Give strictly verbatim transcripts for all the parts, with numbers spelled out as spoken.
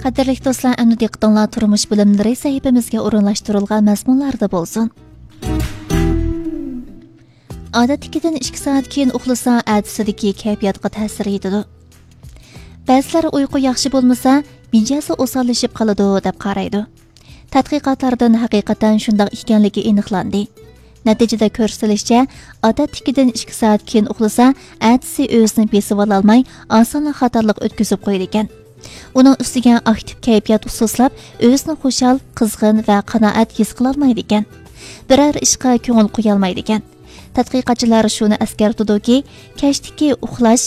قەدىرلىك دوستلار، ئەمدى دىققىتىڭلار تۇرمۇش بىلىملىرى سەھىپىمىزگە ئورۇنلاشتۇرۇلغان مەزمۇنلاردا بولسۇن. ئادەتتىكىدىن ئىككى سائەت كېيىن ئۇخلىسا، ئەتىسىدىكى كەيپىياتقا تەسىر يېتىدۇ. بەزىلەر ئۇيقۇ ياخشى بولمىسا، مىجەزى ئوساللىشىپ قالىدۇ، دەپ قارايدۇ. تەتقىقاتلاردىن ھەقىقەتەن شۇنداق ئىكەنلىكى ئېنىقلاندى. نەتىجىدە كۆرسىتىلىشىچە، ئادەتتىكىدىن ئىككى سائەت كېيىن ئۇخلىسا، ئەتىسى ئۆزىنى بېسىۋالالماي، ئاسانلا خاتالىق ئۆتكۈزۈپ قويىدىكەن. ئۇنىڭ ئۈستىگە ئاكتىپ كەيپىيات ئۇسسۇسلاپ، ئۆزىنى خۇشال، قىزغىن ۋە قانائەت ھېس قىلالمايدىكەن. بىرەر ئىشقا كۆڭۈل قويالمايدىكەن. تەتقىقاتچىلار شۇنى ئەسكەرتىدۇكى، كەچتىكى ئۇخلاش،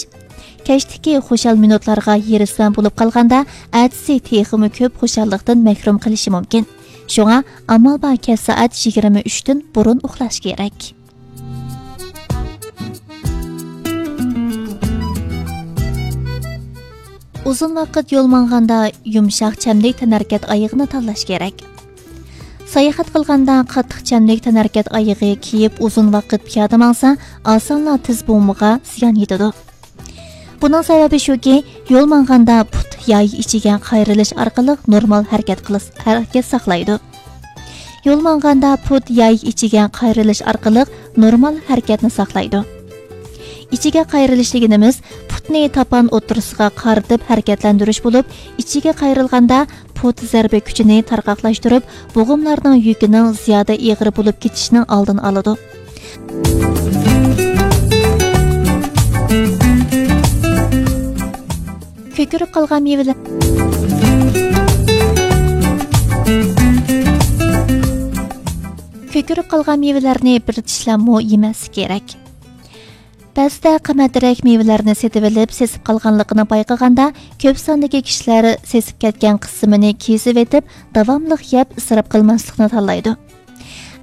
كەچتىكى خۇشال مىنۇتلارغا ھېرىسمەن بولۇپ قالغاندا، ئەتىسى تېخىمۇ كۆپ خۇشاللىقتىن مەھرۇم قېلىشى مۇمكىن. شۇڭا ئامال بار كەچ سائەت يىگىرمە ئۈچتىن بۇرۇن ئۇخلاش كېرەك. ئۇزۇن ۋاقىت يول ماڭغاندا يۇمشاق چەملىك تەنھەرىكەت ئايىغىنى تاللاش كېرەك. ساياھەت قىلغاندا قاتتىق چەملىك تەنھەرىكەت ئايىغى كىيىپ ئۇزۇن ۋاقىت پىيادە ماڭسا، ئاسانلا تىز بومىغا زىيان يېتىدۇ. بۇنىڭ سەۋەبى شۇكى، يول ماڭغاندا پۇت ياي ئىچىگە قايرىلىش ئارقىلىق نورمال ھەرىكەت قىلىس-، ھەرىكەت ساقلايدۇ. يول ماڭغاندا پۇت ياي ئىچىگە قايرىلىش ئارقىلىق نورمال ھەرىكەتنى ساقلايدۇ. ئىچىگە قايرىلىش دېگىنىمىز پۇتنى تاپان ئوتتۇرىسىغا قارىتىپ ھەرىكەتلەندۈرۈش بولۇپ، ئىچىگە قايرىلغاندا پۇت زەربە كۈچىنى تارقاقلاشتۇرۇپ، بوغۇملارنىڭ يۈكىنىڭ زىيادە ئېغىر بولۇپ كېتىشىنىڭ ئالدىنى ئالىدۇ. كۆكىرىپ قالغان مېۋىلەر، كۆكىرىپ قالغان مېۋىلەرنى بىر چىشلەممۇ يېمەسلىك كېرەك. بەزىدە قىممەترەك مېۋىلەرنى سېتىۋېلىپ، سېسىپ قالغانلىقىنى بايقىغاندا، كۆپ ساندىكى كىشىلەر سېسىپ كەتكەن قىسمىنى كېسىۋېتىپ، داۋاملىق يەپ، ئىسراپ قىلماسلىقنى تاللايدۇ.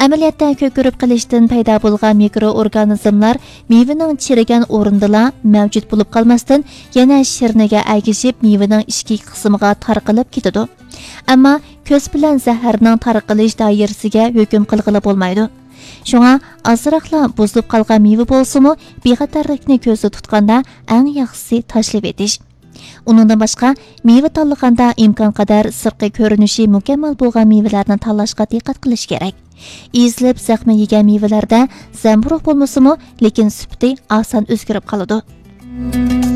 ئەمەلىيەتتە، كۆكىرىپ قېلىشتىن پەيدا بولغان مىكرو ئورگانىزملار مېۋىنىڭ چىرىگەن ئورنىدىلا مەۋجۇت بولۇپ قالماستىن، يەنە شىرنىگە ئەگىشىپ، مېۋىنىڭ ئىچكى قىسمىغا تارقىلىپ كېتىدۇ. ئەمما كۆز بىلەن زەھەرنىڭ تارقىلىش دائىرىسىگە ھۆكۈم قىلغىلى بولمايدۇ. شۇڭا ئازراقلا بۇزۇلۇپ قالغان مېۋە بولسىمۇ، بىخەتەرلىكنى كۆزدە تۇتقاندا ئەڭ ياخشىسى تاشلىۋېتىش. ئۇنىڭدىن باشقا، مېۋە تاللىغاندا ئىمكانقەدەر سىرتقى كۆرۈنۈشى مۇكەممەل بولغان مېۋىلەرنى تاللاشقا دىققەت قىلىش كېرەك. ئېزىلىپ زەخمى يېگەن مېۋىلەردە زەمبۇرۇغ بولمىسىمۇ، لېكىن سۈپىتى ئاسان ئۆزگىرىپ قالىدۇ.